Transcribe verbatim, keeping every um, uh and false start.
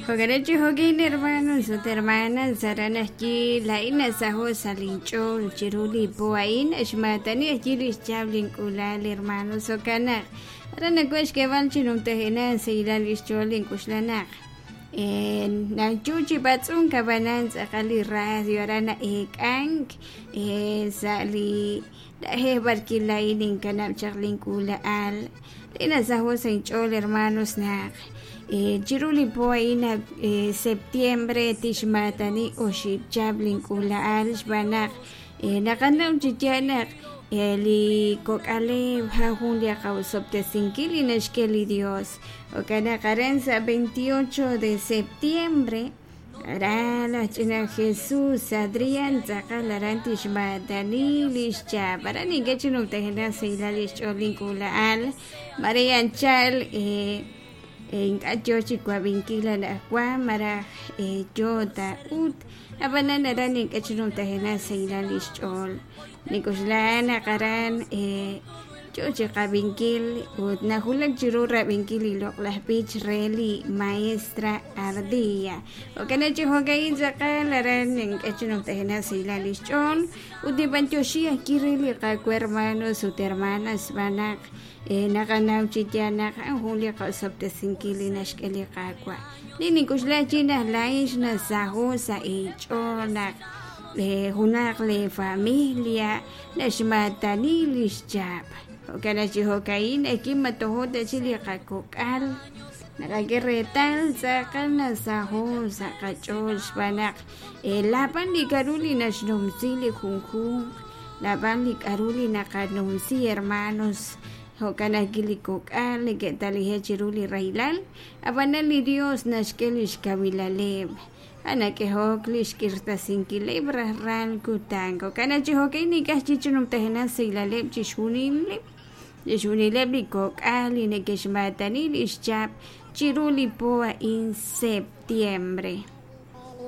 Jo'kan chi jo'kin hermanos ut hermanas aran ajwi' laa'in nasaho' sa' linch'ool chiru li po a'in xmaatani ajwi' lix chab' link'ulal hermanos jo'kan naq aran nawaj xk'eeb'al chi numtajenaq sahilal lix ch'ool link'uxla naq nayu chi b'atz'unk ab'anan tz'aqal li radio aran na'eek'ank sa' li na'ajej b'arwi' laa'in ninkanab' chaq link'uula'al li nasaho' sa' inch'ool hermanos naq chiru li po a'in septiembre tixmaatani oxib' chab' link'uula'al xb'aan naq naqanaw chi yaal naq li kok'aleb' jan jun li qawosob'tesinkil li naxk'e li Dios jo'kan naq aran sa' veintiocho de septiembre aran laj ch'ina Jesús Adrián tz'aqal aran tixmaatani lix chab' aran ink'a' chi numtajenaq sahilal lix ch'ool link'uula'al María anchal ink'a' yo chi wab'inkil anaqwan malaj yo ta ut ab'anan aran ink'a' chi numtajenaq sahilal lix ch'ool nik'uxla naq aran yo chi qab'inkil ut najulak chiru rab'inkil li loq'laj b'ich re li maestra Ardilla jo'kan chi jo'ka'in tz'aqal aran ink'a' chi numtajenaq sahilal lix ch'ool ut nib'antioxi ajwi' re li qawa hermanos ut hermanas xb'aan naq naqanaw chi yaal naq a'an jun li qasob'tesinkil li naxk'e li Qaawa' li nink'uxla chi naq laa'in xnasaho' sa' inch'ool naq junaq li familia naxmaatani lix chab' jo'kan chi jo'ka'in ajwi' matojo' ta chi li qakok'al naqak'e reetal tz'aqal nasaho' sa' qach'ool xb'aan naq laab'an li k'a'ru li naxnumsi li junjunq laab'an li k'a'ru li naqanumsi hermanos jo'kan ajwi' li kok'al neke'talije' chiru li rahilal ab'anan li Dios naxk'e lix kawilaleb' anak'ehok lix k'irtasinkileb' rajlal kutan jo'kan chi jo'ka'in ink'a' chi numtajenaq sahilaleb' chixjunileb' chixjunileb' li kok'al li neke'xmaatani lix chab' chiru li po a'in septiembre.